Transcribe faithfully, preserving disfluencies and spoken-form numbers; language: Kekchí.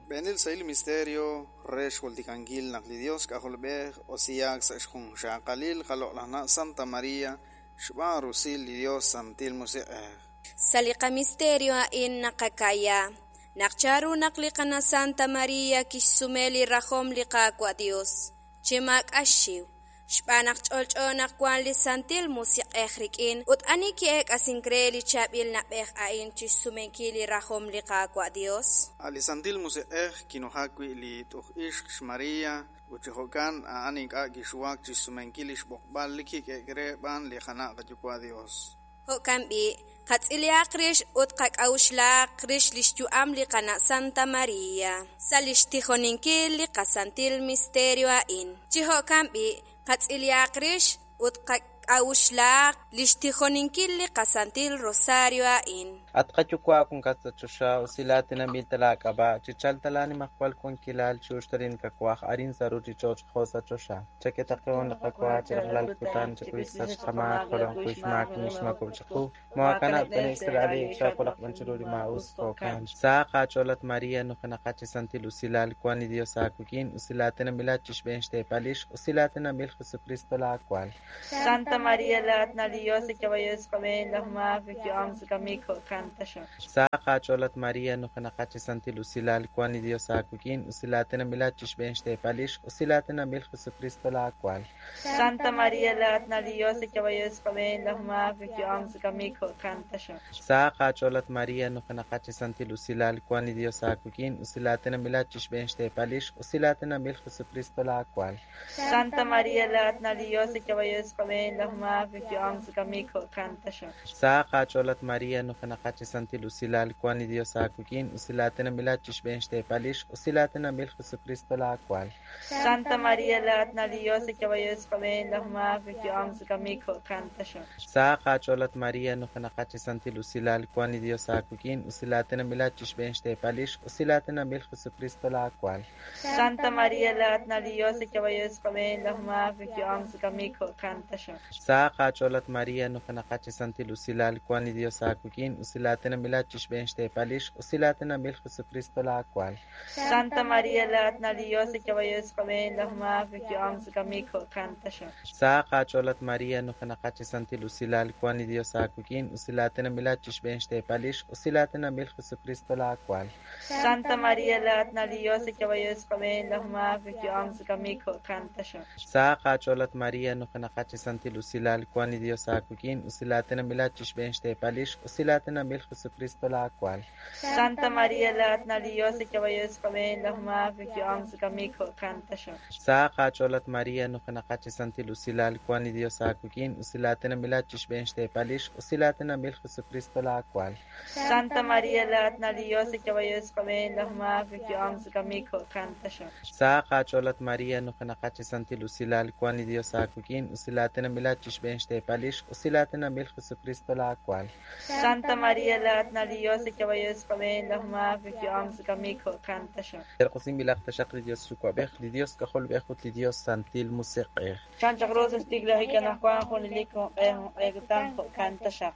Xb'eenil sahil misterio re xjultikankil naq li Dios K'ajolb'ej osiyaak sa' xjunxaqalil qaloq'laj na' Santa Maria xb'aan rusil li Dios Santil Musiq'ej. Sa' li qamisterio a'in naqaka'ya naq chanru naq li Qana' Santa Maria kixsume li rajom li Qaawa' Dios chi maak'a' xxiw, xb'aan naq ch'olch'o naq wan li Santil Musiq'ej rik'in. Ut ani ki'eek'asink re li chaab'il na'b'ej a'in chixsumenkil li rajom li Qaawa' Dios? A' li Santil Musiq'ej kinujak wi' li t'uj ixq xMaria ut chi jo'kan a'an ink'a' kixuwak chixsumenkil li xb'oqb'al li kik'e'k re b'aan li qana' qayuwa' Dios. Jo'kan b'i', qatz'ilihaq rix ut qak'a'uxlaq rix li xyu'am li Qana' Santa Maria sa' li xtijoninkil li qasantil misterio a'in. Chi jo'kan b'i', qatz'ilihaq rix ut qak'a'uxlaq li xtijoninkil li qasantil rosario a'in. At qayuwa' wankat sa' choxa, usilaatinanb'il ta laak'ab'a', chichalq ta laanimajwal wankilal, chi'uxtalin kawaj arin sa' ruuchich'och' jo' sa' choxa. Chak'e taqeho li qawa chi rajlal kutan, chakuy xsach qamaak, jo' ajwi' xmaak li xmaakob'k chiqu. Moohakanab' t'ane'k sa' li chaaqulaq b'an chiru li maa'us, jo'kan. Sahaq aach'ool at Maria, nujenaqat chi santil usilal, wank li Dios aawik'in, usilaatinanb'ilat chi xb'een xteepal ixq, usilaatinanb'il Jesucristo laawal. Santa Maria laat na Dios ikabayos kami lahmak yuam sa kami ko kanta siya. Sahaq aach'ool at Maria, nujenaqat chi santil usilal, wank li Dios aawik'in, usilaatinanb'ilat chi xb'een xteepal ixq, usilaatinanb'il Jesucristo laawal. Santa Maria laat na Dios ikabayos kami lahmak yuam sa kami ko kanta siya. Sahaq aach'ool at Maria, nujenaqat chi santil usilal, wank li Dios aawik'in, usilaatinanb'ilat chi xb'een xteepal ixq, usilaatinanb'il Jesucristo laawal. Santa Maria laat na Dios ikabayos kami lahmak yuam sa kami ko kanta siya. Sahaq aach'ool at Maria, nujenaqat chi santil usilal, wank li Dios aawik'in, usilaatinanb'ilat chi xb'een xteepal ixq, usilaatinanb'il Jesucristo laawal. Santa Maria laat na Dios ikabayos kami lahmak yuam sa kami ko kanta siya. Sahaq aach'ool at Maria, nujenaqat chi santil usilal, wank li Dios aawik'in, usilaatinanb'ilat chi xb'een xteepal ixq, usilaatinanb'il Jesucristo laawal. Santa Maria laat na Dios ikabayos kami lahmak yuam sa kami ko kanta siya. Sahaq aach'ool at Maria, nujenaqat chi santil usilal, wank li Dios aawik'in, usilaatinanb'ilat chi xb'een xteepal ixq, usilaatinanb'il Jesucristo laawal. Santa Maria laat na Dios ikabayos kami lahmak yuam sa kami ko kanta siya. Sahaq aach'ool at Maria, nujenaqat chi santil usilal, wank li Dios aawik'in, usilaatinanb'ilat chi xb'een xteepal ixq, usilaatinanb'il Jesucristo laawal. Santa Maria laat na Dios ikabayos kami lahmak yuam sa kami ko kanta siya. Sahaq aach'ool at Maria, nujenaqat chi santil usilal, wank li Dios aawik'in, usilaatinanb'ilat chi xb'een xteepal ixq, usilaatinanb'il Jesucristo laawal. Santa Maria laat na Dios ikabayos kami lahmak yuam sa kami ko kanta siya. Sahaq aach'ool at Maria, nujenaqat chi santil usilal, wank li Dios aawik'in, usilaatinanb'ilat chi xb'een xteepal ixq, usilaatinanb'il Jesucristo laawal. Santa Maria laat na Dios ikabayos kami lahmak yuam sa kami ko kanta siya. Sahaq aach'ool at Maria, nujenaqat chi santil usilal, wank li Dios aawik'in, usilaatinanb'ilat chi xb'een xteepal ixq, usilaatinanb'il Jesucristo laawal. Santa Maria laat na Dios ikabayos kami lahmak yuam sa kami ko kanta siya. Terqosinb'ilaq taxaq li Dios Yuwa'b'ej, li Dios K'ajolb'ej ut li Dios Santil Musiq'ej. Chan chaq rosas tiglahik anajwan junelik junq'e junq'e kutan jo'kan taxaq.